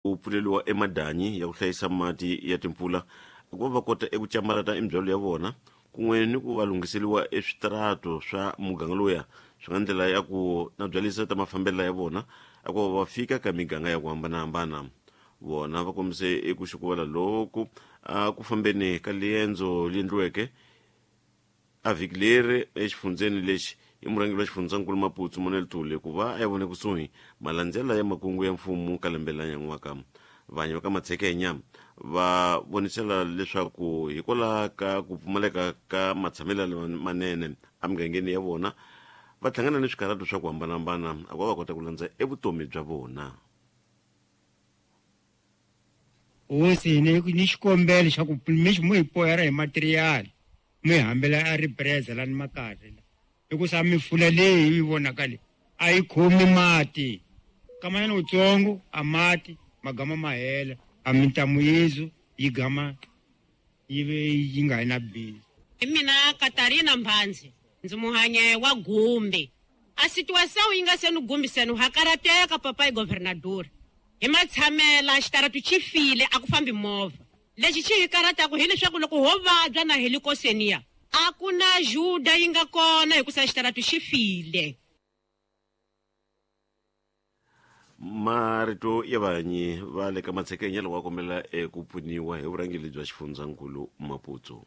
Ku pfuleriwa emadanyi ya ku hlayisa mati ya timpfula ku va va kota eku camarata emibyalo ya vona kun'we ni ku va lunghiseriwa eswitarato swa muganga lowuya swi nga ndlela ya ku na byalisa ta mafambelo ya vona a ku va va fika ka miganga ya ku hambanahambana. Vona va kombise eku xukuvala loku a ku fambeni ka liendzo li endliweke A vhiki leri exifundzeni lexi i murhangeri wa xifundzankulu Maputsu Manuel Tuli ku va a ya vone kusuhi malandzela ya makungu ya mfumo ka lembe la nyan'waka. Vanyi va ka Matshekenya va vonisela leswaku hikwalaho ka ku pfumaleka ka matshamelo manene emigangeni ya vona va hlangana ni swikarhato swa ku hambanahambana a ku va va kota ku landza evutomi bya vona. Hosi ni ni xikombelo xa ku mi mu hi poyera hi material mi hambela a ripreza lani makaya la hikusa mifula leyi yi vonaka leyi a yi khomi mati kamanyana wutsongo a mati ma gama ma hela a mintamu yezu yi gama yi ve yi nga yi na bindzu. Hi mina Katarina Mbhandzi, ndzi muhanye wa Gumbi. A situação yi nga se ni gumbiseni ha karateka papai governador. Hi matshamela xitaratu xi file a ku fambi movha. Lexi xi hi karataku hi leswaku loko ho vabya na hi le koseniya a ku na ajuda yi nga kona hikusa xitaratu xi file. Marito ya vahanyi va le ka Matshekenya loko va kombela eku pfuniwa hi vurhangeri bya xifundzankulu Maputsu.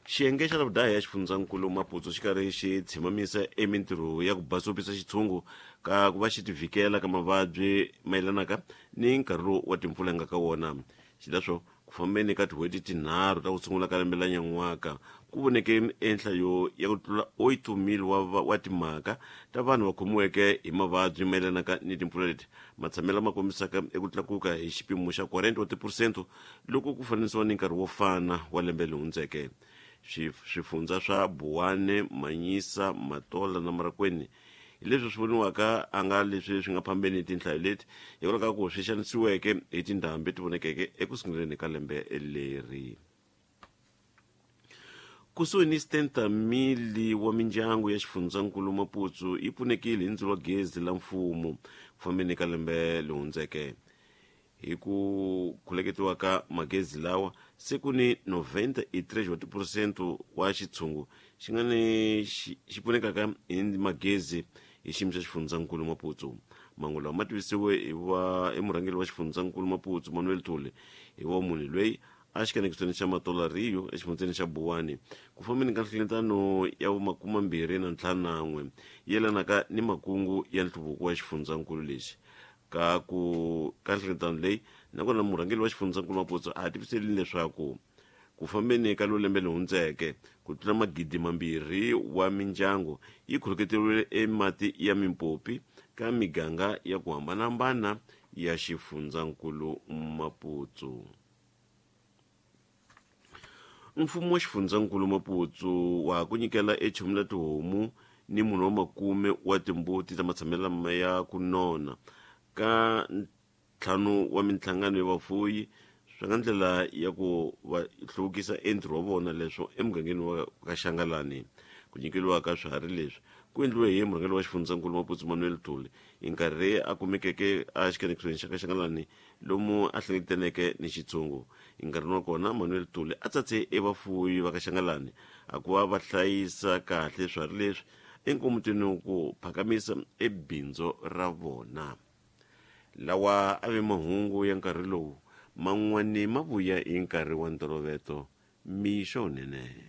Xiyenge xa lavudaha ya xifundzankulu Maputsu xi karhi xi tshimamisa emintirho ya ku basopisa xitshungu ka ku va xi tivhikela ka mavabyi mayelanaka ni nkarhi lowu wa timpfula nga ka wona. Xileswo, ku fambeni ka tin'hweti tinharhu ta ku sungula ka lembe la nyan'waka, ku voneke enhlayo ya ku tlula 8,000 wa, wa timhaka ta vanhu va khomiweke hi mavabyi mayelanaka ni timpfula leti matshamelo lama kombisaka eku tlakuka hi xipimo xa 40 wa tiphurosento loko ku fananisiwa ni nkarhi wo fana wa lembe leri hundzeke. Swifundzha swa Buwane, Manyisa, Matola na Marikweni hi leswi swi voniwaka a nga leswi swi nga phambeni tinhlayo leti hikwalaho ka ku swi xanisiweke hi tindhambi ti vonekeke eku sunguleni ka lembe leri. Kusuhi ni 70 mili wa mindyangu ya xifundzankulu Maputsu yi pfunekile hi ndzilo wa gezi la mfumo ku fambeni ka lembe leri hundzeke. Hi ku khuleketiwa ka magezi lawa, se ku ni 93 wa tiphurosento wa xitshungu xi nga ni xi pfunekaka hi magezi hi xiyimo xa xifundzankulu Maputsu. Mangu lawa ma tivisiwe hi va hi murhangeri wa xifundzankulu Maputsu Manuel Thuli hi wa munhu loyi a xikanekisweni xa Matola Rio exifundzeni xa Buwani ku fambeni ka nhlengeletano ya vumakumambirhi na ntlhanu na n'we yelanaka ni makungu ya nhluvuko wa xifundzankulu lexi. Ka ku ka nhlengeletano leyi nakona murhangeri wa xifundzankulu Maputsu a tiviselini leswaku ku fambeni ka lo lembe leri hundzeke ku tlula magidi mambirhi wa mindyangu yi khuluketeriwile emati ya mimpopi ka miganga ya ku hambanahambana ya xifundzankulu Maputsu. Mfumo wa xifundzankulu Maputsu wa ha ku nyikela echumu la tihomu ni munhu wa makume wa timbuti ta matshamelo lama ya ku nona ka ntlhanu wa minhlangano ya vafuyi swi nga ndlela ya ku va hluvukisa entirho wa vona leswo emugangeni wa ka Xangalani. Ku nyikeriwa ka swiharhi leswi ku endliwe hi murhangeri wa xifundzankulu Maputsu Manuel Thuli hi nkarhi a kumekeke a xikanekisweni xa ka Xangalani lomu a hlengeletaneke ni xitshungu. Enkarhini wa kona, Manuel Tuli a tsatse evafuwi va ka Xangalani a ku va va hlayisa kahle swiharhi leswi enkomutweni ku phakamisa ebindzo ra vona. Lawa a ve mahungu ya nkarhi lowu, man'wani ma vuya hi nkarhi wa ntoloveto. Mixo wunene.